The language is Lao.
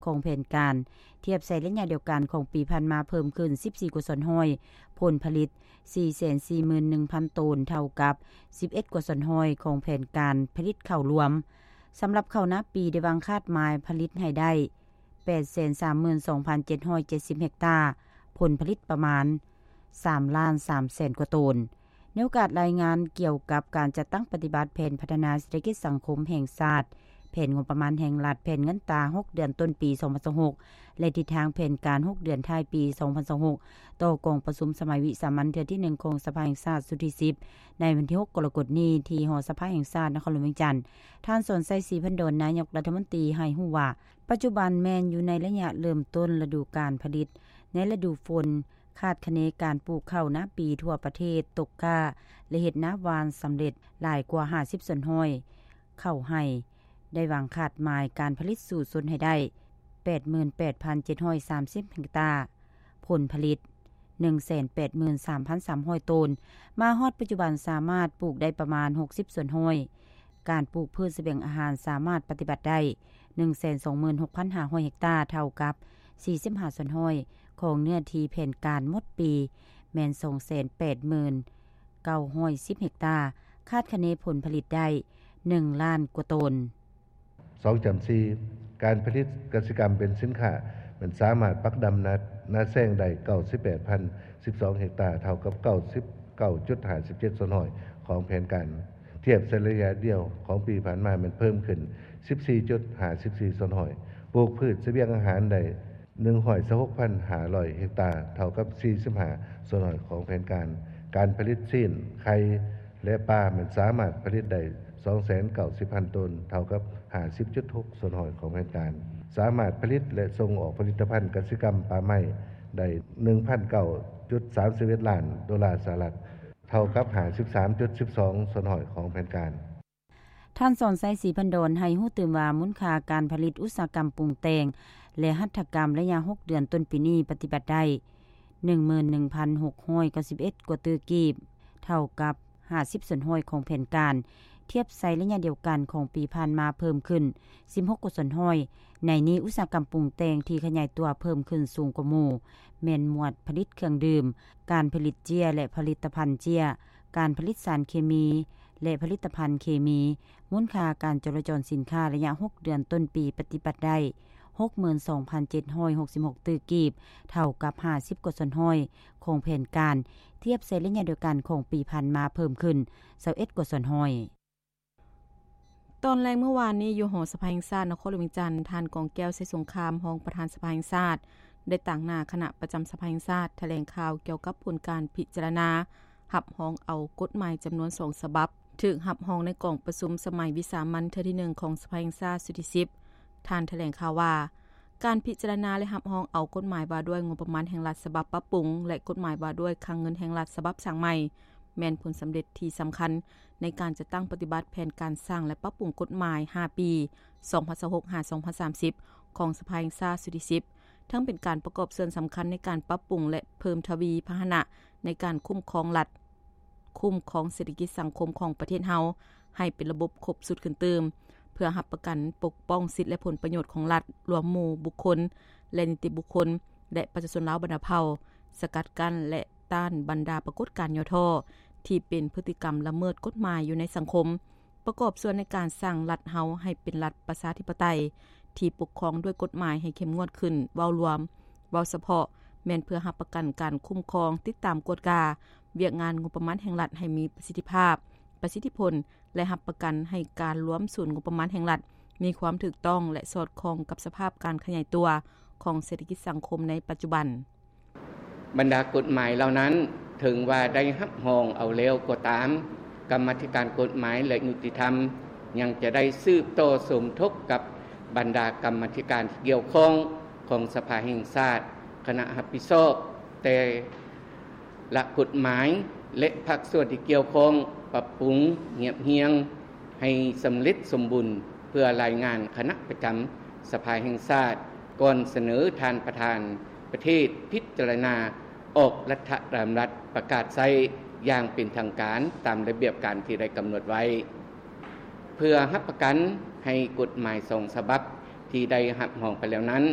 ຂອງແຜນການ, ທຽບໃສ່ໄລຍະດຽວກັນຂອງປີຜ່ານມາເພີ່ມຂຶ້ນສິບສີ່ກວ່າສ່ວນຮ້ອຍ, ຜົນຜະລິດສີ່ແສນສີ່ໝື່ນໜຶ່ງພັນໂຕນ ເທົ່າກັບສິບເອັດກວ່າສ່ວນຮ້ອຍຂອງແຜນການຜະລິດເຂົ້າລວມ. ສຳລັບເຂົ້ານາປີ ໄດ້ວາງຄາດໝາຍຜະລິດໃຫ້ໄດ້ແປດແສນສາມໝື່ນສອງພັນເຈັດຮ້ອຍເຈັດສິບເຮັກຕາ, ຜົນຜະລິດປະມານສາມລ້ານສາມແສນກວ່າໂຕນ. ໃນໂອກາດລາຍງານກ່ຽວກັບການຈັດຕັ້ງປະຕິບັດແຜນພັດທະນາເສດຖະກິດສັງຄົມແຫ່ງຊາດ, ແຜນງົບປະມານແຫ່ງລັດ, ແຜນເງິນຕາຫົກເດືອນຕົ້ນປີສອງພັນຊາວຫົກ ແລະ ທິດທາງແຜນການຫົກເດືອນທ້າຍປີສອງພັນຊາວຫົກ ຕໍ່ກອງປະຊຸມສະໄໝວິສາມັນເທື່ອທີໜຶ່ງຂອງສະພາແຫ່ງຊາດຊຸດທີສິບ ໃນວັນທີຫົກກໍລະກົດນີ້ ທີ່ຫໍສະພາແຫ່ງຊາດນະຄອນຫຼວງວຽງຈັນ, ທ່ານ ສອນໄຊ ສີພັນດອນ ນາຍົກລັດຖະມົນຕີ ໃຫ້ຮູ້ວ່າ ປັດຈຸບັນແມ່ນຢູ່ໃນໄລຍະເລີ່ມຕົ້ນລະດູການຜະລິດ. ໃນລະດູຝົນ ຄາດຄະເນການປູກເຂົ້ານາປີທົ່ວປະເທດຕົກກ້າ ແລະ ເຮັດນາຫວ່ານສຳເລັດຫຼາຍກວ່າຫ້າສິບສ່ວນຮ້ອຍ. ເຂົ້າໄຮ່ ໄດ້ວາງຄາດໝາຍການຜະລິດສູ້ຊົນໃຫ້ໄດ້ແປດໝື່ນແປດພັນເຈັດຮ້ອຍສາມສິບເຮັກຕາ, ຜົນຜະລິດໜຶ່ງແສນແປດໝື່ນສາມພັນສາມຮ້ອຍໂຕນ. ມາຮອດປັດຈຸບັນສາມາດປູກໄດ້ປະມານຫົກສິບສ່ວນຮ້ອຍ. ການປູກພືດສະບຽງອາຫານສາມາດປະຕິບັດໄດ້ໜຶ່ງແສນສອງໝື່ນຫົກພັນຫ້າຮ້ອຍເຮັກຕາ, ເທົ່າກັບສີ່ສິບຫ້າສ່ວນຮ້ອຍຂອງເນື້ອທີ່ແຜນການໝົດປີ ແມ່ນສອງແສນແປດໝື່ນເກົ້າຮ້ອຍສິບເຮັກຕາ, ຄາດຄະເນຜົນຜະລິດໄດ້ໜຶ່ງລ້ານກວ່າໂຕນ. ສອງຈ້ຳສີ່ ການຜະລິດກະສິກຳເປັນສິນຄ້າ ແມ່ນສາມາດປັກດຳນາ ນາແຊງໄດ້ເກົ້າສິບແປດພັນສິບສອງເຮັກຕາ, ເທົ່າກັບເກົ້າສິບເກົ້າຈຸດຫ້າສິບເຈັດສ່ວນຮ້ອຍຂອງແຜນການ. ທຽບໃສ່ໄລຍະດຽວຂອງປີຜ່ານມາແມ່ນເພີ່ມຂຶ້ນສິບສີ່ຈຸດຫ້າສິບສີ່ສ່ວນຮ້ອຍ. ປູກພືດສະບຽງອາຫານໄດ້ໜຶ່ງຮ້ອຍຊາວຫົກພັນຫ້າຮ້ອຍເຮັກຕາ, ເທົ່າກັບສີ່ສິບຫ້າສ່ວນຮ້ອຍຂອງແຜນການ. ການຜະລິດຊີ້ນ, ໄຂ່ ແລະ ປາແມ່ນສາມາດຜະລິດໄດ້ສອງແສນເກົ້າສິບພັນໂຕນ, ເທົ່າກັບຫ້າສິບຈຸດຫົກສ່ວນຮ້ອຍຂອງແຜນການ. ສາມາດຜະລິດ ແລະ ສົ່ງອອກຜະລິດຕະພັນກະສິກຳປ່າໄມ້ໄດ້ໜຶ່ງພັນເກົ້າຈຸດສາມສິບເອັດລ້ານໂດລາສະຫະລັດ, ເທົ່າກັບຫ້າສິບສາມຈຸດສິບສອງສ່ວນຮ້ອຍຂອງແຜນການ. ທ່ານ ສອນໄຊ ສີພັນດອນ ໃຫ້ຮູ້ຕື່ມວ່າ ມູນຄ່າການຜະລິດອຸດສາຫະກຳປຸງແຕ່ງ ແລະ ຫັດຖະກຳ ໄລຍະຫົກເດືອນຕົ້ນປີນີ້ປະຕິບັດໄດ້ໜຶ່ງໝື່ນໜຶ່ງພັນຫົກຮ້ອຍເກົ້າສິບເອັດກວ່າຕື້ກີບ, ເທົ່າກັບຫ້າສິບສ່ວນຮ້ອຍຂອງແຜນການ. ທຽບໃສ່ໄລຍະດຽວກັນຂອງປີຜ່ານມາເພີ່ມຂຶ້ນສິບຫົກກວ່າສ່ວນຮ້ອຍ. ໃນນີ້ ອຸດສາຫະກຳປຸງແຕ່ງທີ່ຂະຫຍາຍຕົວເພີ່ມຂຶ້ນສູງກວ່າໝູ່ ແມ່ນໝວດຜະລິດເຄື່ອງດື່ມ, ການຜະລິດເຈ້ຍ ແລະ ຜະລິດຕະພັນເຈ້ຍ, ການຜະລິດສານເຄມີ ແລະ ຜະລິດຕະພັນເຄມີ. ມູນຄ່າການຈໍລະຈອນສິນຄ້າໄລຍະຫົກເດືອນຕົ້ນປີປະຕິບັດໄດ້ຫົກໝື່ນສອງພັນເຈັດຮ້ອຍຫົກສິບຫົກຕື້ກີບ, ເທົ່າກັບຫ້າສິບກວ່າສ່ວນຮ້ອຍຂອງແຜນການ. ທຽບໃສ່ໄລຍະດຽວກັນຂອງປີຜ່ານມາເພີ່ມຂຶ້ນຊາວເອັດກວ່າສ່ວນຮ້ອຍ. ຕອນແລງມື້ວານນີ້ ຢູ່ຫໍສະພາແຫ່ງຊາດນະຄອນຫຼວງວຽງຈັນ, ທ່ານ ກອງແກ້ວ ໄຊສົງຄາມ ຮອງປະທານສະພາແຫ່ງຊາດ ໄດ້ຕາງໜ້າຄະນະປະຈຳສະພາແຫ່ງຊາດ ຖະແຫຼງຂ່າວກ່ຽວກັບຜົນການພິຈາລະນາຮັບຮອງເອົາກົດໝາຍຈຳນວນສອງສະບັບ ຖືກຮັບຮອງໃນກອງປະຊຸມສະໄໝວິສາມັນເທື່ອທີໜຶ່ງຂອງສະພາແຫ່ງຊາດຊຸດທີສິບ. ທ່ານຖະແຫຼງຂ່າວວ່າ ການພິຈາລະນາ ແລະ ຮັບຮອງເອົາກົດໝາຍວ່າດ້ວຍງົບປະມານແຫ່ງລັດສະບັບປັບປຸງ ແລະ ກົດໝາຍວ່າດ້ວຍຄັງເງິນແຫ່ງລັດສະບັບສ້າງໃໝ່ ແມ່ນຜົນສຳເລັດທີ່ສຳຄັນໃນການຈັດຕັ້ງປະຕິບັດແຜນການສ້າງ ແລະ ປັບປຸງກົດໝາຍຫ້າປີ ສອງພັນຊາວຫົກ ຫາ ສອງພັນສາມສິບ ຂອງສະພາແຫ່ງຊາດຊຸດທີສິບ, ທັງເປັນການປະກອບສ່ວນສຳຄັນໃນການປັບປຸງ ແລະ ເພີ່ມທະວີພາຫະນະໃນການຄຸ້ມຄອງລັດ, ຄຸ້ມຄອງເສດຖະກິດສັງຄົມຂອງປະເທດເຮົາ ໃຫ້ເປັນລະບົບຄົບຊຸດຂຶ້ນຕື່ມ, ເພື່ອຮັບປະກັນປົກປ້ອງສິດ ແລະ ຜົນປະໂຫຍດຂອງລັດ, ລວມໝູ່ບຸກຄົນ ແລະ ນິຕິບຸກຄົນ ແລະ ປະຊາຊົນລາວບັນດາເຜົ່າ, ສະກັດກັ້ນ ແລະ ຕ້ານບັນດາປາກົດການຫຍໍ້ທໍ້ ທີ່ເປັນພຶດຕິກຳລະເມີດກົດໝາຍຢູ່ໃນສັງຄົມ, ປະກອບສ່ວນໃນການສ້າງລັດເຮົາໃຫ້ເປັນລັດປະຊາທິປະໄຕ ທີ່ປົກຄອງດ້ວຍກົດໝາຍໃຫ້ເຂັ້ມງວດຂຶ້ນ. ເວົ້າລວມ, ເວົ້າສະເພາະ, ແມ່ນເພື່ອຮັບປະກັນການຄຸ້ມຄອງ, ຕິດຕາມກວດກາວຽກງານງົບປະມານແຫ່ງລັດໃຫ້ມີປະສິດທິພາບ, ປະສິດທິຜົນ ແລະ ຮັບປະກັນໃຫ້ການລວມສູນງົບປະມານແຫ່ງລັດມີຄວາມຖືກຕ້ອງ ແລະ ສອດຄ່ອງກັບສະພາບການຂະຫຍາຍຕົວຂອງເສດຖະກິດສັງຄົມໃນປັດຈຸບັນ. ບັນດາກົດໝາຍເຫຼົ່ານັ້ນ, ເຖິງວ່າໄດ້ຮັບຮອງເອົາແລ້ວກໍຕາມ, ກຳມາທິການກົດໝາຍ ແລະ ຍຸຕິທຳ ຍັງຈະໄດ້ສືບຕໍ່ສົມທົບກັບບັນດາກຳມາທິການທີ່ກ່ຽວຂ້ອງຂອງສະພາແຫ່ງຊາດ, ຄະນະຮັບຜິດຊອບແຕ່ ລະກົດໝາຍ ແລະ ພາກສ່ວນທີ່ກ່ຽວຂ້ອງ ປັບປຸງ, ຮຽບຮຽງໃຫ້ສຳເລັດສົມບູນ ເພື່ອລາຍງານຄະນະປະຈຳສະພາແຫ່ງຊາດ ກ່ອນສະເໜີທ່ານປະທານປະເທດພິຈາລະນາອອກລັດຖະດຳລັດປະກາດໃຊ້ຢ່າງເປັນທາງການຕາມລະບຽບການທີ່ໄດ້ກຳນົດໄວ້. ເພື່ອຮັບປະກັນໃຫ້ກົດໝາຍສອງສະບັບທີ່ໄດ້ຮັບຮອງໄປແລ້ວນັ້ນ